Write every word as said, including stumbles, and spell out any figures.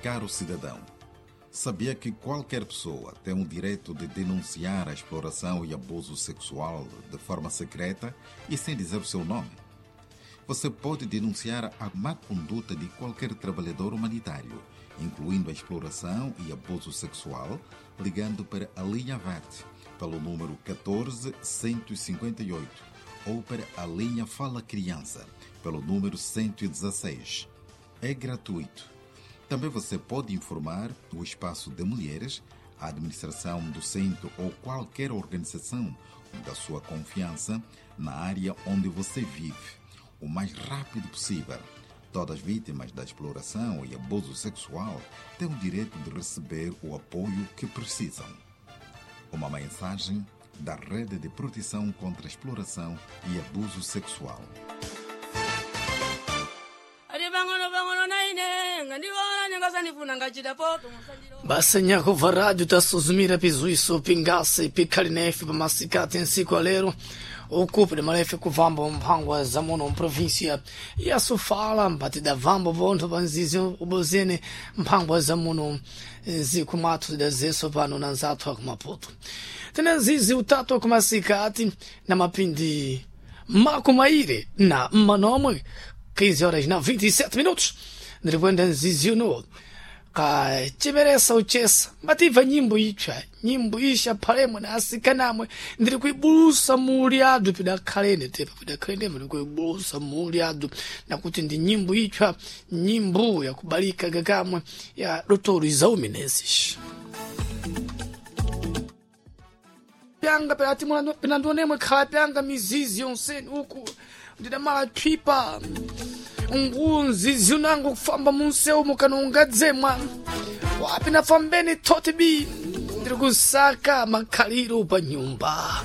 Caro cidadão, sabia que qualquer pessoa tem o direito de denunciar a exploração e abuso sexual de forma secreta e sem dizer o seu nome? Você pode denunciar a má conduta de qualquer trabalhador humanitário, incluindo a exploração e abuso sexual, ligando para a linha verde pelo número um quatro cento e cinco oito ou para a linha Fala Criança pelo número cento e dezasseis. É gratuito. Também você pode informar o Espaço de Mulheres, a administração do centro ou qualquer organização da sua confiança na área onde você vive, o mais rápido possível. Todas as vítimas da exploração e abuso sexual têm o direito de receber o apoio que precisam. Uma mensagem da Rede de Proteção contra a Exploração e Abuso Sexual. Ati pang'ono pang'ono naine ngandiona ningasanifuna ngachita poto musandiro. Basa nyakubva rádio tasuzumira pizuiso pingase pikhali nefe pamasikati nsiku alero ukupi malefe kuvamba mphangwa za muno mprovinsia ya Sofala, mpati davamba vontho pa nzizi ubozene mphangwa za muno nziku mwathu zidazeso pano na nzathu akumaputo. Tena nzizi utatu akumasikati na mapindi makumaire na manomwe, quinze horas na vinte e sete minutos, ndirikwenda nzizi uno kachemeresa uchesa mativa nyimbo itsva, nyimbo isha phalemwe na asikanamwe. Ndiri kuibulusa muli adu pidakhalene tepa pidakhalene, ndiri kuibulusa muli adu nakuti ndi nyimbo itsva, nyimbo yakubalika kakamwe ya Dotoro Izaumenezes. Pyanga pelati pinandionemwe khala pyanga mizizi yonseni uku ndidamala thwipa ngunzizi unango kufamba munseu mukanongadzemwa wapi nafambeni thoti bi ndiri kusaka makhaliro pa nyumba.